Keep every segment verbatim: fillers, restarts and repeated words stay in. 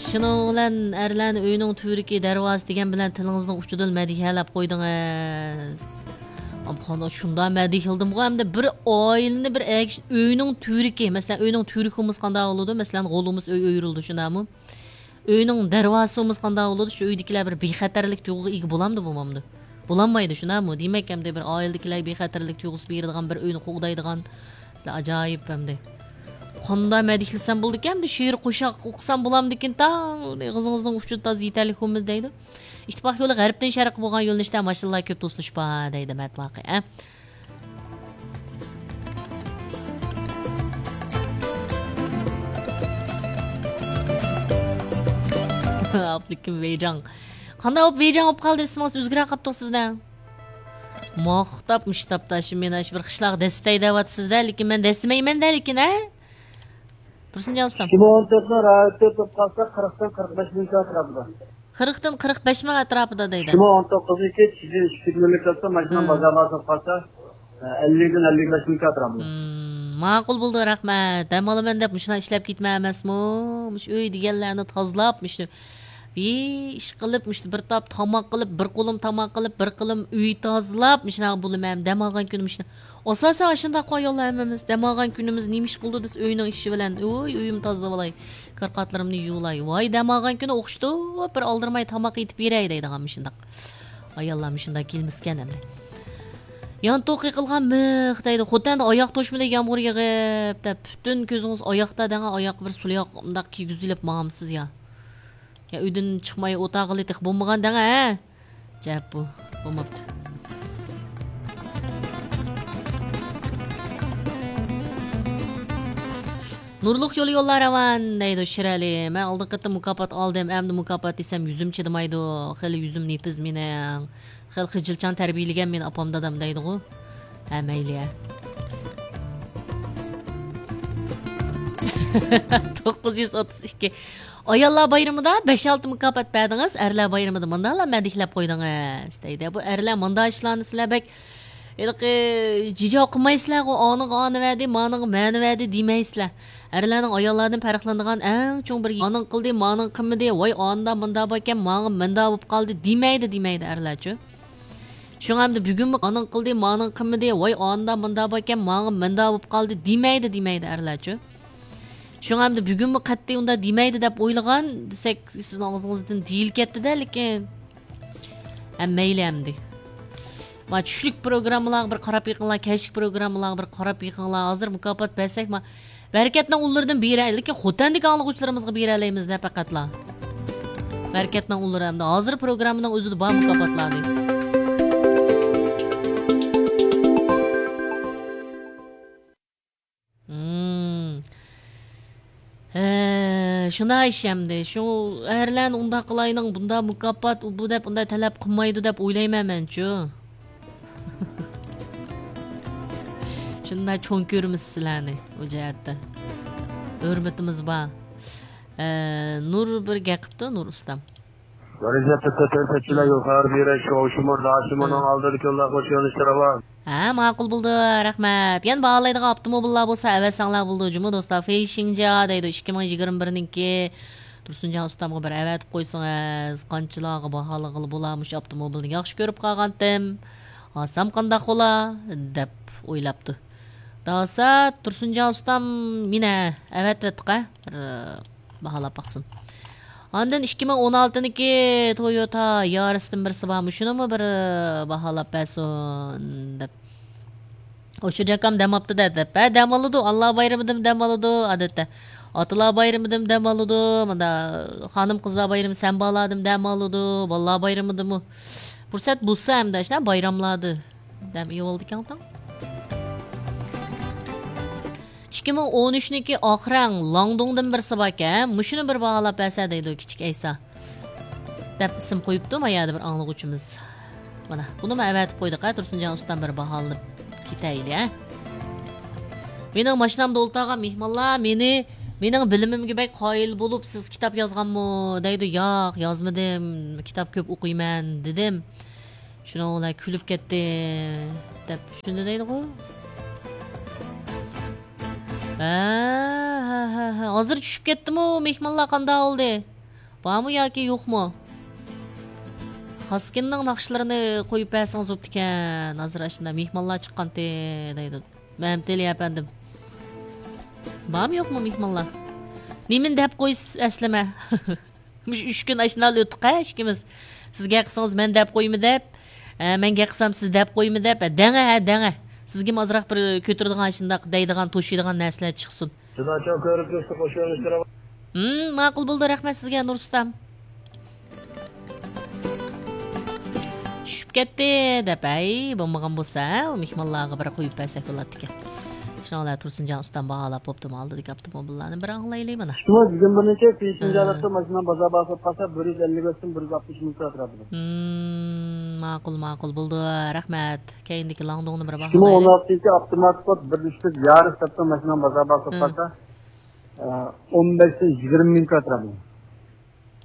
شۇنىڭ بىلەن ئەرلەرنى ئۆينىڭ تۈۋرۈكى، دەرۋازىسى دېگەن بىلەن تىلىڭىزنىڭ ئۇچىدىلا مەدھىيەلەپ قويدىڭىز. ئامان، قانداق شۇنداق مەدھىيەلىدىمغۇ، ئەمدى بىر ئائىلىنى بىر ئەگىش-، ئۆينىڭ تۈۋرۈكى، مەسىلەن، ئۆينىڭ تۈۋرۈكى بولمىسا قانداق بولىدۇ؟ مەسىلەن، غول بولمىسا ئۆي ئۆيرۈلىدۇ، شۇنداقمۇ؟ ئۆينىڭ دەرۋازىسى بولمىسا قانداق بولىدۇ؟ شۇ ئۆيدىكىلەر بىر بىخەتەرلىك تۇيغۇغا ئىگە بولامدۇ، بولمامدۇ؟ بولالمايدۇ، شۇنداقمۇ؟ دېمەك، ئەمدى بىر ئائىلىدىكىلەرگە بىخەتەرلىك تۇيغۇسى بېرىدىغان، بىر ئۆينى قوغدايدىغان، سىلەر ئاجايىپ ئەمدى. قانداق مەدھىيەلىسەم بولىدىكەن، ئەمدى شېئىر قوشاق ئوقۇسام بولامدىكىن، تاڭ ئېغىزىڭىزنىڭ ئۇچىدا تازا يېتەرلىك بولمىدى دەيدۇ. ئىتتىپاق يولى غەربتىن شەرققە بولغان يۆنىلىشتە ماشىنىلار كۆپ توسۇلۇش بار دەيدۇ مەتبۇ ئاقى، ھە؟ ئابلىكىم ۋېيجاڭ. قانداق بولۇپ ۋېيجاڭ بولۇپ قالدى، ئىسمىڭىز ئۆزگىرىپ قاپتۇ سىزنىڭ. ماختاپ مۇشتاپتا شۇ مېنى شۇ بىر قىشلاق دەستەي دەۋاتىسىز-دە، لېكىن مەن دەسسىمەيمەن-دە، لېكىن، ھە؟ تۇرسۇنجان ئۇستام. ئىككى مىڭ ئون تۆتنىڭ رايوتى بولۇپ قالسا، قىرىقتىن قىرىق بەش مىڭ ئەتراپىدا. قىرىقتىن قىرىق بەش مىڭ ئەتراپىدا دەيدۇ. ئىككى مىڭ ئون توققۇزىنچى يىل ئىككى يۈز ئىككى مىڭ ئەتراپىدا ماشىنا بازارغا سوقۇپ قالسا، ئەللىكتىن ئەللىك بەش مىڭ ئەتراپىدا. مم، ماقۇل بولدى، رەھمەت. دەم ئالىمەن دەپ مۇشۇنداق ئىشلەپ كېتىمەن ئەمەسمۇ؟ مۇشۇ ئۆي دېگەنلەرنى تازىلاپ، مۇشۇ بىر ئىش قىلىپ، مۇشۇ بىر تاپ تاماق قىلىپ، بىر قولۇم تاماق قىلىپ، بىر قولۇم ئۆي تازىلاپ، مۇشۇنداق بولىمەن. دەم ئالغان كۈنۈم مۇشۇنداق. ئاساسەن ئاشۇنداق ئاياللار ھەممىمىز. دەم ئالغان كۈنىمىز نېمە ئىش قىلدى دېسە، ئۆينىڭ ئىشى بىلەن. ۋوي، ئۆيۈمنى تازىلاۋالاي، كارقاتلىرىمنى يۇيۇۋالاي. ۋاي، دەم ئالغان كۈنى ئوخشىتىپ بىر ئالدىرىماي تاماق ئېتىپ بېرەي دەيدىغان مۇشۇنداق. ئاياللار مۇشۇنداق كېلمىسىكەن ئەمدى. يانتۇق يېقىلغان مىخ دەيدۇ. خوتەندە ئاياغ توشمىدى يامغۇر يېغىپ دەپ، پۈتۈن كۆزىڭىز ئاياقتا دەڭە، ئاياققا بىر سۇلياق مۇنداق كىيگۈزۈۋېلىپ ماڭامسىز يا؟ يا ئۆيدىن چىقماي ئولتۇرغىلى تېخى بولمىغان دەڭە، ھە؟ جەپ بۇ، بولماپتۇ. نۇرلۇق يولى يوللار راۋان دەيدۇ شىرئەلى. مەن ئالدىنقى قېتىم مۇكاپات ئالدىم، ئەمدى مۇكاپات دېسەم يۈزۈم چىدىمايدۇ. خېلى يۈزۈم نېپىز مېنىڭ. خېلى خىجىلچان تەربىيىلىگەن مېنى ئاپام دادام دەيدىغۇ. ھە، مەيلى، ھە. توققۇز يۈز ئوتتۇز ئىككى. ئاياللار بايرىمىدا بەش-ئالتە مۇكاپات بەردىڭىز، ئەرلەر بايرىمىدا مۇنداقلا مەدھىيەلەپ قويدىڭىز، دەيدۇ. بۇ ئەرلەر مۇنداق ئىشلارنى سىلەر بەك ھېلىقى جىجا قىلمايسىلەرغۇ، ئانىغا ئانىۋەردى، مانىغا مانىۋەردى دېمەيسىلەر. ئەرلەرنىڭ ئاياللاردىن پەرقلىنىدىغان ئەڭ چوڭ بىر، ئانىڭ قىلدى، مانىڭ قىلمىدى، ۋاي ئاندا مۇندا باركەن، ماڭا مۇندا بولۇپ قالدى دېمەيدۇ، دېمەيدۇ ئەرلەرچۇ. شۇڭا ئەمدى بۈگۈنمۇ ئانىڭ قىلدى، مانىڭ قىلمىدى، ۋاي ئاندا مۇندا باركەن، ماڭا مۇندا بولۇپ قالدى دېمەيدۇ، دېمەيدۇ ئەرلەرچۇ. شۇڭا ئەمدى بۈگۈنمۇ قەتئىي ئۇنداق دېمەيدۇ دەپ ئويلىغان دېسەك، سىزنىڭ ئاغزىڭىزدىن دېيىلىپ كەتتىدە، لېكىن. ھە، مەيلى ئەمدى. ما چۈشلۈك پروگراممىلارغا بىر قاراپ بېقىڭلار، كەچلىك پروگراممىلارغا بىر قاراپ بېقىڭلار. ھازىر مۇكاپات بەرسەك، ما بەرىكەتنىڭ ئۇللىرىدىن بېرەي، لېكىن خوتەندىكى ئاڭلىغۇچىلىرىمىزغا بېرەلەيمىز-دە پەقەتلا. بەرىكەتنىڭ ئۇللىرى ئەمدى ھازىر پروگراممىنىڭ ئۆزىدە بار مۇكاپاتلارنى. مم. ھە، شۇنداق ئىش ئەمدى. شۇ ئەرلەرنى ئۇنداق قىلاينىڭ، بۇنداق مۇكاپات، ئۇ بۇ دەپ، ئۇنداق تەلەپ قىلمايدۇ دەپ ئويلايمەن مەنچۇ. شۇنداق چوڭ كۆرىمىز سىلەرنى ئۇ جەھەتتە. ھۆرمىتىمىز بار. ئە، نۇر بىر گەپ قىپتۇ، نۇر ئۇستام. بىرىنچى ھەپتە سەپەر سەتچىلەر يول خەۋەر بېرىش، شوۋشىمۇر، داشىمۇرنىڭ ئالدىدىكى يوللار خوش يۆنىلىشتە راۋان. ھە، ماقۇل بولدى، رەھمەت. يەنە باھالىنىدىغان ئاپتوموبىللار بولسا ئەۋەتسەڭلار بولىدۇ جۇمۇ دوستلار. فېيشىڭجيا دەيدۇ، ئىككى مىڭ يىگىرمە بىرنىڭكى. تۇرسۇنجان ئۇستامغا بىر ئەۋەتىپ قويسىڭىز، قانچىلارغا باھالىغىلى بولا؟ مۇشۇ ئاپتوموبىلنى ياخشى كۆرۈپ قالغانتىم. ئالسام قانداق بولا؟ دەپ ئويلاپتۇ. داسا تۇرسۇنجان ئۇستام مېنى ئەۋەتىۋەتتۇق-ھە. بىر باھالاپ باقسۇن. ئاندىن ئىككى مىڭ ئون ئالتىنىڭكى تويوتا يارىستىن بىرسى بارمۇ؟ شۇنىمۇ بىر باھالاپ بەرسۇن دەپ. ئۇچۇر جاكام دەم ئاپتۇ-دە دەپ. ھە، دەم ئالىدۇ. ئانىلار بايرىمىدىمۇ دەم ئالىدۇ، ئادەتتە. ئاتىلار بايرىمىدىمۇ دەم ئالىدۇ. مۇندا خانىم-قىزلار بايرىمى، سەنبالاردىمۇ دەم ئالىدۇ. بالىلار بايرىمىدىمۇ. پۇرسەت بولسا ئەمدى ئاشۇنداق بايراملاردا دەم ئېلىۋالىدىكەن تاڭ. ئىككى مىڭ ئون ئۈچنىڭكى ئاخرەڭ لاڭدۇڭدىن بىرسى باركەن، مۇشۇنى بىر باھالاپ بەرسە دەيدۇ كىچىك ئەيسا. دەپ ئىسىم قويۇپتۇ ما يەردە بىر ئاڭلىغۇچىمىز. مانا، بۇنىمۇ ئەۋەتىپ قويدۇق ھە، تۇرسۇنجان ئۇستام بىر باھالىنىپ كېتەيلى ھە. مېنىڭ ماشىنامدا ئولتۇرغان مېھمانلار مېنى، مېنىڭ بىلىمىمگە بەك قايىل بولۇپ، سىز كىتاب يازغانمۇ دەيدۇ. ياق، يازمىدىم، كىتاب كۆپ ئوقۇيمەن دېدىم. شۇنىڭ بىلەن كۈلۈپ كەتتى دەپ شۇنداق دەيدىغۇ. ھە، ھە، ھە، ھە. ھازىر چۈشۈپ كەتتىمۇ، مېھمانلار قانداق بولدى؟ بارمۇ ياكى يوقمۇ؟ خاسكىننىڭ ناخشىلىرىنى قويۇپ بەرسىڭىز بوپتىكەن. ھازىر ئاشۇنداق مېھمانلار چىققانتى دەيدۇ. مەمتىلى ئەپەندىم. بارمۇ يوقمۇ مېھمانلار؟ نېمىنى دەپ قويىسىز ئەسلىمە؟ مۇشۇ ئۈچ كۈن ئاشۇنداق ئۆتتۇق ھە ئىككىمىز. سىز گەپ قىلسىڭىز مەن دەپ قويىمەن دەپ، ھە، مەن گەپ قىلسام سىز دەپ قويىمەن دەپ، ھە، دەڭە، ھە، دەڭە. سىزگىمۇ ئازراق بىر كۆتۈرىدىغان، شۇنداق دەيدىغان، توشۇيدىغان نەرسىلەر چىقسۇن. جۇداچان كۆرۈپ تۇرسا قوشۇۋېلىشتۇرۇۋال. ھىم، ماقۇل بولدى، رەھمەت سىزگە، نۇر ئۇستام. چۈشۈپ كەتتى دەپ، ئەي، بولمىغان بولسا، ھە، ئۇ مېھمانلارغا بىر قويۇپ بەرسەك بولاتتىكەن. شۇنىڭ بىلەن تۇرسۇنجان ئۇستام باھالاپ بوپتۇمۇ ئالدىدىكى ئاپتوموبىللارنى، بىر ئاڭلايلى مانا. شۇڭا بۈگۈن بىرنىچە پېشىنجا ھە. ئالاپتۇ، ماشىنا بازار باھاسى بولۇپ قالسا، بىر يۈز ئەللىك ئۆتسۇن، بىر يۈز ئاتمىش مىڭ كىراتتۇرىدۇ. ھىم، ماقۇل، ماقۇل، بولدى، رەھمەت. كەينىدىكى لاڭدۇڭنى بىر ئىككى مىڭ ئون باھالايلى. ئالتىنچى ئاپتومات كود بىر يۈز يارىس سەپتە ماشىنا بازار باھاسى بولۇپ ھىم. قالسا، ئە، ئون بەشتىن يىگىرمە مىڭ كىراتتۇرىدۇ.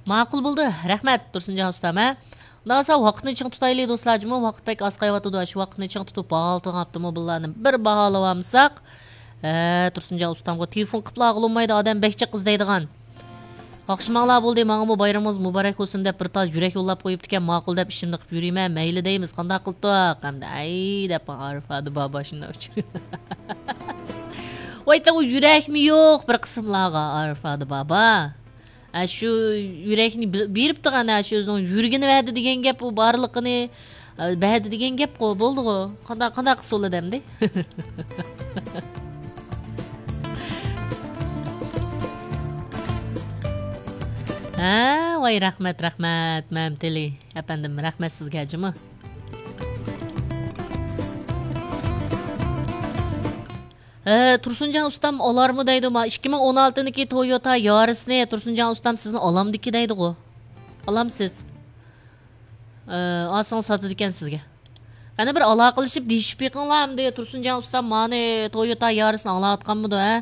ماقۇل بولدى. رەھمەت، تۇرسۇنجان ئۇستام، ھە. ئۇنداق بولسا ۋاقىتنى چىڭ تۇتايلى، دوستلار، جۇمۇ ۋاقىت بەك ئاز قېلىۋاتىدۇ. شۇ ۋاقىتنى چىڭ تۇتۇپ، باھالىتىدىغان ئاپتوموبىللارنى بىر باھالىۋالمىساق، ھە، تۇرسۇنجان ئۇستامغا تېلېفون قىپلا ئاغلىنمايدۇ، ئادەم بەك جىق ئىزدەيدىغان. ياخشىماڭلار بولدى، ماڭىمۇ بايرىمىڭىز مۇبارەك بولسۇن دەپ بىر تال يۈرەك يوللاپ قويۇپتىكەن، ماقۇل دەپ ئىشىمنى قىلىپ يۈرىمەن، مەيلى دەيمىز، قانداق قىلدۇق؟ ئەمدى ئەي دەپ ئارىفادى بابا شۇنداق ئۇچۇر. ۋاي، تاۋۇ يۈرەكمۇ يوق بىر قىسىملارغا ئارىفادى بابا. ئە، شۇ يۈرەكنى بىل-، بېرىپتىغان، ئە، شۇ ئۆزىنىڭ يۈرىكىنى بەردى دېگەن گەپ، ئۇ بارلىقىنى، ئە، بەردى دېگەن گەپقۇ، بولدىغۇ. قانداق، قانداق قىلسا بولىدۇ ئەمدى؟ ھە، ۋاي، رەھمەت، رەھمەت، مەمتىلى ئەپەندىم، رەھمەت سىزگە جۇمۇ. ھە، تۇرسۇنجان ئۇستام ئالارمۇ دەيدۇ، ما، ئىككى مىڭ ئون ئالتىنىڭكى تويوتا يارىسنى تۇرسۇنجان ئۇستام سىزنى ئالامدىكى دەيدىغۇ. ئالامسىز؟ ھە، ئالسىڭىز ساتىدىكەن سىزگە. قېنى بىر ئالاقىلىشىپ دېيىشىپ بېقىڭلار ئەمدى، تۇرسۇنجان ئۇستام مانى تويوتا يارىسنى ئاڭلاۋاتقانمىدۇ، ھە؟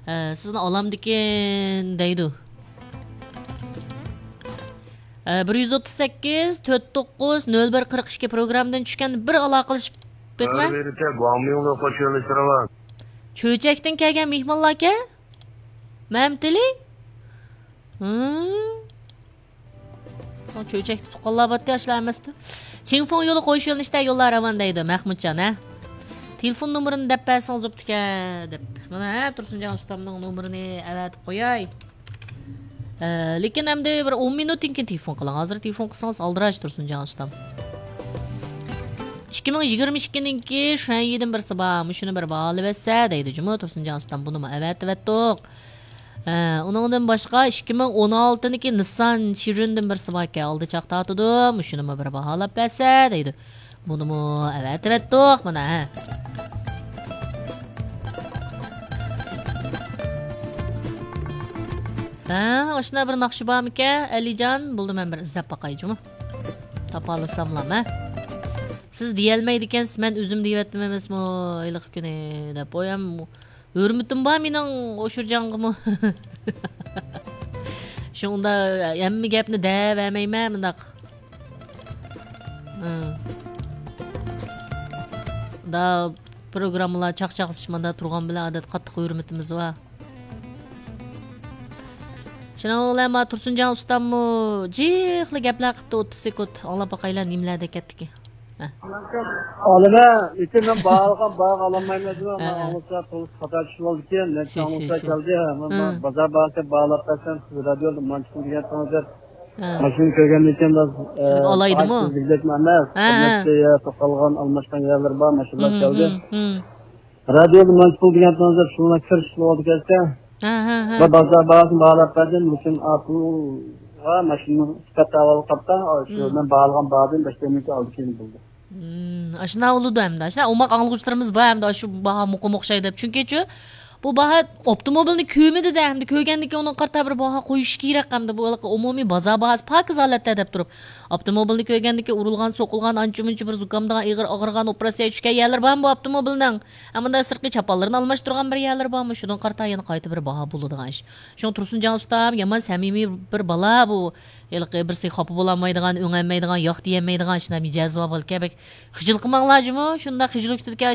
ھە، سىزنى ئالامدىكىن دەيدۇ. ئە، بىر يۈز ئوتتۇز سەككىز، تۆت توققۇز، نۆل بىر قىرىق ئىككى پروگراممىدىن چۈشكەن، بىر ئالاقىلىشىپ بېقىڭە. بىر بىرىچە گۇاڭمىڭدا قوشۇۋېلىشتۇرىمەن. چۆچەكتىن كەلگەن مېھمانلاركەن؟ مەمتىلى؟ ھىم؟ چۆچەكتە تۇغقانلار بارتتى، ئاشۇلار ئەمەستۇ. چىڭفېڭ يولى قويۇش يۆنىلىشتە يوللار راۋان دەيدۇ، مەخمۇتجان، ھە؟ تېلېفون نومۇرىنى دەپ بەرسىڭىز بوپتىكەن، دەپ. مانا، ھە، تۇرسۇنجان ئۇستامنىڭ نومۇرىنى ئەۋەتىپ قوياي. ئە، لېكىن ئەمدى بىر ئون مىنۇتتىن كېيىن تېلېفون قىلىڭ. ھازىر تېلېفون قىلسىڭىز ئالدىراش، تۇرسۇنجان ئۇستام. ئىككى مىڭ يىگىرمە ئىككىنىڭكى شۈەنيىدىن بىرسى بار. مۇشۇنى بىر باھالىۋەتسە دەيدۇ جۇمۇ، تۇرسۇنجان ئۇستام. بۇنىمۇ ئەۋەتىۋەتتۇق. ئە، ئۇنىڭدىن باشقا ئىككى مىڭ ئون ئالتىنىڭكى نىسسان شىرىندىن بىرسى باركەن، ئالدى چاق تارتىدۇ. مۇشۇنىمۇ بىر باھالاپ بەرسە دەيدۇ. بۇنىمۇ ئەۋەتىۋەتتۇق، مانا، ھە. ھە، ئاشۇنداق بىر ناخشا بارمىكەن، ئەلىجان؟ بولدى، مەن بىر ئىزدەپ باقاي جۇمۇ. تاپالىساملام، ھە. سىز دېيەلمەيدىكەنسىز، مەن ئۆزۈم دېيىۋەتتىم ئەمەسمۇ، ھېلىقى كۈنى دەپ. ئويام ھۆرمىتىم بار مېنىڭ ئوشۇرجانغىمۇ. شۇڭدا ھەممە گەپنى دەۋەرمەيمەن مۇنداق. ھە. دا پروگراممىلار چاقچاقلىشىپ ماندا تۇرغان بىلەن ئادەتتە قاتتىق ھۆرمىتىمىز بار. شۇنىڭ بىلەن ما تۇرسۇنجان ئۇستاممۇ جىقلا گەپلەر قىپتۇ، ئوتتۇز سېكۇنت ئاڭلاپ باقايلا نېمىلەر دەپ كەتتىكىن. ھە. ئالىمە، لېكىن مەن باھالىغان باھاغا ئالالمايمەن دېدىم. ھە، مەن ھە. ئاڭلىسا توغرىسى خاتا چۈشۈپ بولدىكەن. نەچچە شۇ، شۇ، ئانونسلار شۇ. كەلدى. مەن ھە. بازار باھاسى باھالاپ بەرسەم، سىز رادىيودا مانچە پۇل دېگەنتىڭىز دەپ. ھە. ماشىنا كۆرگەندىن كېيىن بىراز، سىزگە ئالايدىمۇ؟ ئە، سىزگە دەپ ئەمەس. ھە، ھە. بىر نەچچە يەر توختالغان، ئالماشقان يەرلىرى بار، ماشىنىلار ھىم، كەلدى. ھىم، ھىم. رادىيودا مانچە پۇل دېگەنتىڭىز دەپ شۇنىڭ كىرىشىپ بولدى كەلسە. ھە، ھە، ھە. بىر بازار باھاسىنى باھالاپ بەردىم، لېكىن ئا پۇلغا ماشىنىنىڭ سۈپەت ئەھۋالى قاپتا، شۇ ھىم. مەن باھالىغان باھادىن بەش مىڭ ئالدى كېيىن بولدى. ھىم، ئاشۇنداق بولىدۇ ئەمدى. ئاشۇنداق ئوماق ئاڭلىغۇچىلىرىمىز بار ئەمدى، ئاشۇ باھا مۇقىم ئوخشاي دەپ. چۈنكىچۇ، بۇ باھا ئاپتوموبىلنى كۆرمىدى-دە، ئەمدى كۆرگەندىن كېيىن ئۇنىڭغا قارىتا بىر باھا قويۇش كېرەك ئەمدى. بۇ ھېلىقى ئومۇمىي بازار باھاسى پاكىز ھالەتتە دەپ تۇرۇپ، ئاپتوموبىلنى كۆرگەندىن كېيىن ئۇرۇلغان، سوقۇلغان، ئانچە-مۇنچە بىر زۇكامدىغان، ئېغىر ئاغرىغان، ئوپېراتسىيەگە چۈشكەن يەرلىرى بارمۇ بۇ ئاپتوموبىلنىڭ؟ ھە، مۇنداق سىرتقى چاپانلىرىنى ئالماشتۇرغان بىر يەرلىرى بارمۇ؟ شۇنىڭغا قارىتا يەنە قايتا بىر باھا بولىدىغان ئىش. شۇڭا تۇرسۇنجان ئۇستام يامان سەمىمىي بىر بالا بۇ. ھېلىقى بىرسىگە خاپا بولالمايدىغان، ئۆڭەلمەيدىغان، ياق دېيەلمەيدىغان شۇنداق مىجەزى بار بالىكەن. بەك خىجىل قىلماڭلار جۇمۇ، شۇنداق خىجىل كۈتىدىكەن.